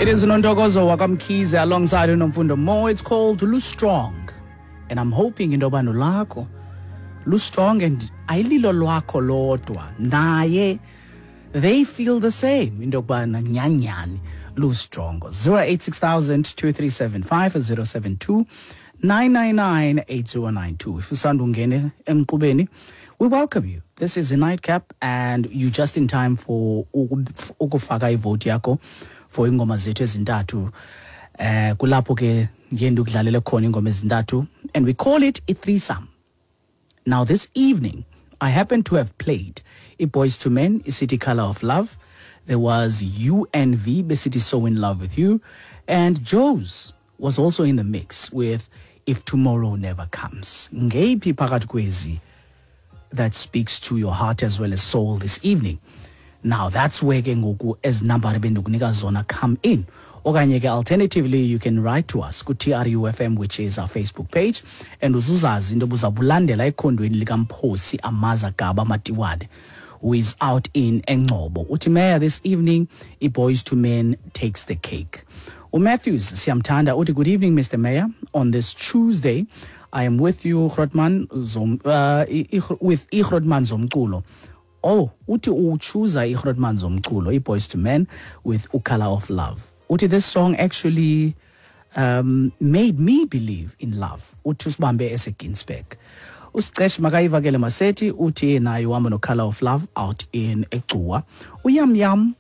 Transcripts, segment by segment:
It is uNontokozo wakaMkhize alongside uNomfundo Mo. It's called Lu Strong. And I'm hoping into yoba nolwakho lu strong and ayililo lwakho lodwa naye they feel the same into yokubana nyanyani lu strong. 086 2375 072 999 8092. If usanda ungene emqubeni, we welcome you. This is a nightcap and you just in time for ukufaka ivote yakho for ingoma zethu ezintathu. Kulapho ke ndiye ndikudlalele khona ingoma ezintathu and we call it a threesome. Now this evening I happen to have played iBoys to Men, iCity Color of Love. There was UNV, City So in Love with You, and Joe's was also in the mix with If Tomorrow Never Comes. Ngeyiphi phakathi kwezi that speaks to your heart as well as soul this evening? Now that's where ke ngoku ezi nambari bendikunika zona come in. Okanye ke alternatively you can write to us ku-TRUFM, which is our Facebook page, and uzuzazi into buzabulandela ekhondweni likaMphosi Amaza Gaba Matiwane, who is out in Engcobo. Uthi Mayor, this evening iBoys to Men takes the cake. UMatthews siyamthanda uthi good evening Mr. Mayor, on this Tuesday I am with you Grootman zom, with iGrootman zomculo. Oh, uthi uchoose iGrootman zomculo, iBoys to Men with uColor of Love. Uthi this song actually made me believe in love. Uthi usibambe eseGinsberg. Usicesh makayivakele Maseti uthi naye uhamba no-Color of Love out in Egcuwa. Uyam Yam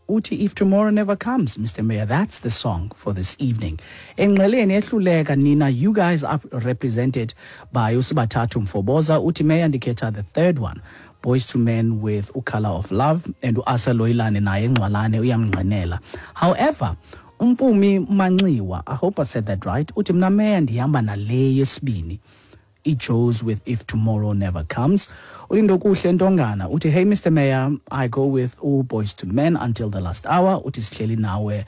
uthi If Tomorrow Never Comes, Mr. Mayor, that's the song for this evening. Engxeleni ehluleka nina, you guys are represented by uSibathathu Mfoboza. Uthi Mayor ndikhetha the third one, Boys to Men with uColor of Love, and uAsa Loyilane naye engcwalane uyamngqinela. However, uMpumi Manxiwa, I hope I said that right, uthi mna Mayor ndihamba nale yesibini, iJoes with If Tomorrow Never Comes. Ulindokuhle Ntongana uthi hey Mr. Mayor, I go with all Boys to Men until the last hour. Uthi sihleli nawe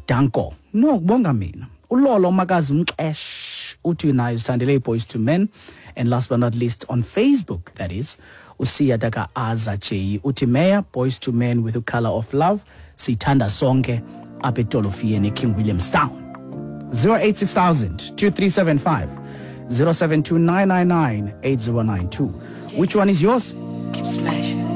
danko. No, kubonga mina. Ulolo Makazi Mxesh uthi naye usithandele iBoys to Men. And last but not least on Facebook, that is uSiya Daka Aza J uthi Mayor, Boys to Men with the Color of Love, siyithanda sonke apha etolofiyeni eKing Williamstown. 086 2375 072 999 8092. Which one is yours? Keep smashing.